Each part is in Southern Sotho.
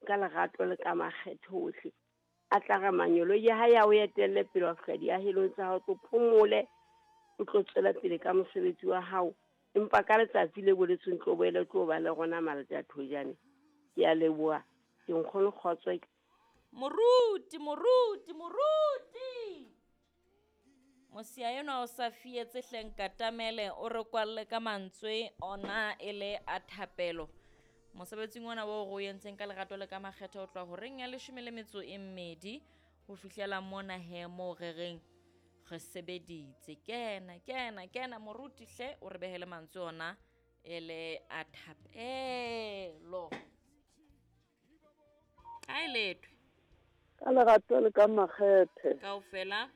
ka lerato le ka makgethe ohle. A tla re manyoloi a hae a o etelle pele wa fihla diahelong tsa hao, tlo phomole, o tlo tswela pele ka mosebetsi wa hao. Empa ka letsatsi le boletsweng tlo boele tlo ba le rona Malta Thojane. Ke a leboha. Ke nkgono kgotso. Moruti, moruti, moruti! Mosia enwa o sa fietse hle nkatamele o re kwalle ka mantswe ona e le a thapelo. Mosebetsing ona o re o entseng ka lerato le ka makgetho o tloha horeng ya leshome le metso e mmedi ho fihlela mona he moo re reng re sebeditse. Kena, kena, kena moruti hle o re behele mantswe ona e le a thapelo. A e lethwe. Ka lerato le ka makgethe. Kaofela.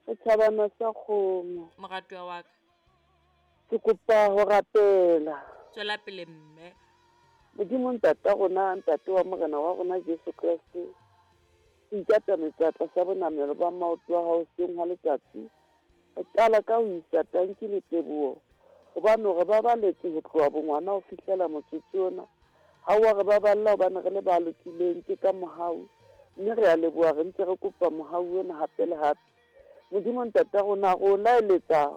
Setjhabana sa kgomo. Moratuwa wa ka. Ke kopa ho rapela. Tswela pele mme. Modimo ntata rona, ntate wa Morena wa rona Jesu Kreste, ke ikatametsa tlasa bonamelo ba maoto a hao hoseng hwa letsatsi. Re qala ka ho isa tanki le teboho hobane o re babaletse ho tloha bongwana ho fihlela motsotso ona. Ha oa re baballa hobane re le ba lokileng, ke ka mohau. Mme re a leboha re ntse re kopa mohau ona hape le hape. Modimo Ntata rona, re o laeletsa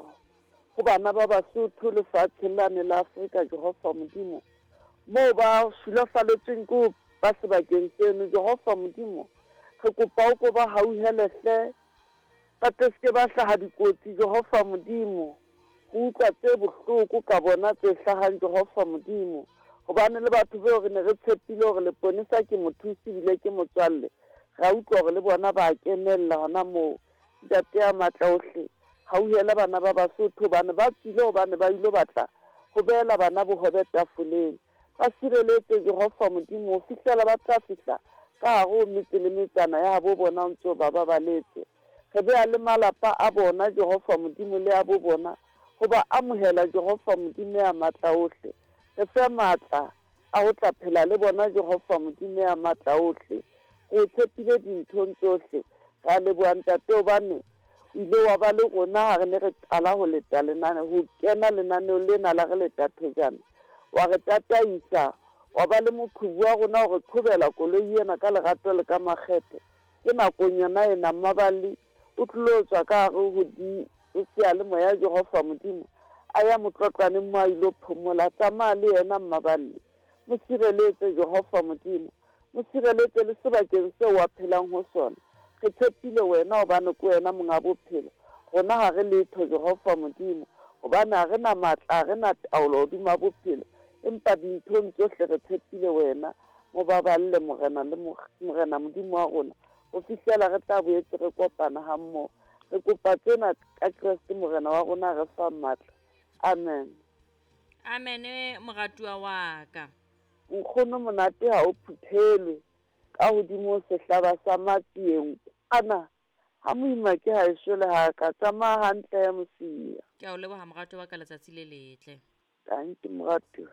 ho bana ba Basotho lefatsheng lane la Afrika, Jehova Modimo, moo ba sulafaletsweng ke ho ba sebakeng seno. Jehova Modimo, re kopa o ko ba hauhele hle, ba tle se ke ba hlaha dikotsi, Jehova Modimo, ho utlwa tse bohloko ka bona tse hlahang, Jehova Modimo. Hobane le batho beo re ne re tshepile hore leponesa ke mothusi ebile ke motswalle, ra utlwa hore le bona ba kenella hona moo. Ntate ya matla ohle, hauhela bana ba Basotho hobane ba tswile hobane ba ilo batla ho behela bana bohobe tafoleng. Ba sireletse, Jehova Modimo, ho fihlela ba tla fihla ka hare ho metse le metsana ya habo bona o ntse ba babaletse. Re beha le malapa a bona, Jehova Modimo, le a bo bona, ho ba amohela, Jehova Modimo ya matla ohle. Re fe matla a ho tla phela le bona, Jehova Modimo ya matla ohle. Re o tshepile dinthong tsohle. Re a leboha, Ntate, hobane o ile wa ba le rona ha re ne re qala ho leta lenane, ho kena lenaneong lena la re leta thojana. Wa re tataisa, wa ba le moqhubu wa rona ho re qhobela koloi ena ka lerato le ka makgethe. Ke nakong yona ena, Mmaballi o tlilo tswa ka hare ho di seyalemoya Jehova Modimo a ya motlotlwaneng mo a ilo phomola. Tsamaya le yena, Mmaballi. Mo sireletse, Jehova Modimo. Mo sireletse le sebakeng seo a phelang ho sona. Re tshepile wena hobane ke wena monga bophelo. Rona ha re letho, Jehova Modimo, hobane ha re na matla, ha re na taolo hodima bophelo. Empa dinthong tsohle re tshepile wena. Mo baballe, Morena le Morena Modimo wa rona, ho fihlela re tla boetse re kopana hammoho. Re kopa tsena ka Kreste Morena wa rona re fang matla. Amen. Amen, moratuwa wa ka. Nkgono monate ha o phuthelwe ka hodimo sehlaba sa matsieng kwana. Ha moima ke ha eso le ha ka tsamaya hantle ya mosia. Ke a o leboha moratuwa wa ka, letsatsi le letle. Tanki moratuwa.